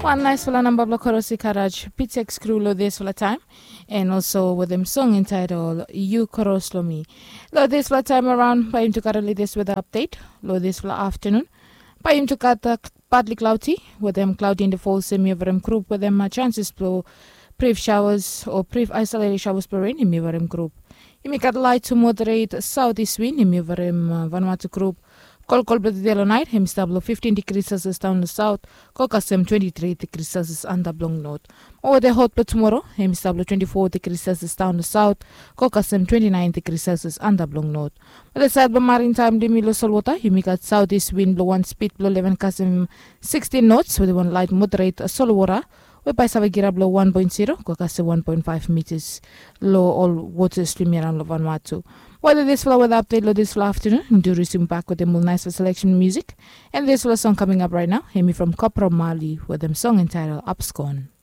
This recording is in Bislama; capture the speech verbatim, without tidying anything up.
Wan naisfala namba blong korosi karaj pitex kru long disfala taim, and also wetem song entaitol yu koros long mi. Long disfala taim araun bai yum tu gat latest weda apdet. Long disfala aftanun bai yum tu gat patli klauti wetem klauti in the falls em yavarim grup wetem chances blong brif shawas o brif aisolate shawas blong ren em yavarim grup. Yumi gat lait tu moderate saut is win em yavarim vanwatu grup. Kolkol blong tede long nait em i stap long fiftin digri selsias daun long saut, go kasem twenti tri digri selsias antap long not. Mo wede hot blong tumoro em i stap long twenti fo digri selsias daun long saut, go kasem twenti nain digri selsias antap long not. Wede sait blong marin taim dimi long solwota yumi gat saut is win blong wan spid blong leven kasem sikstin nots wede wan lait moderate solwota, we bai save girap long wan poen zero go kasem wan poen faiv mitas long ol wota swim yaraun long vanwatu. Weda disfala weda apdet long disfala aftanun, du risim bak wetem ol naisfala seleksen musik. And disfala song kaming ap rait nao em i from kopra mali wetem song entaitol apskon.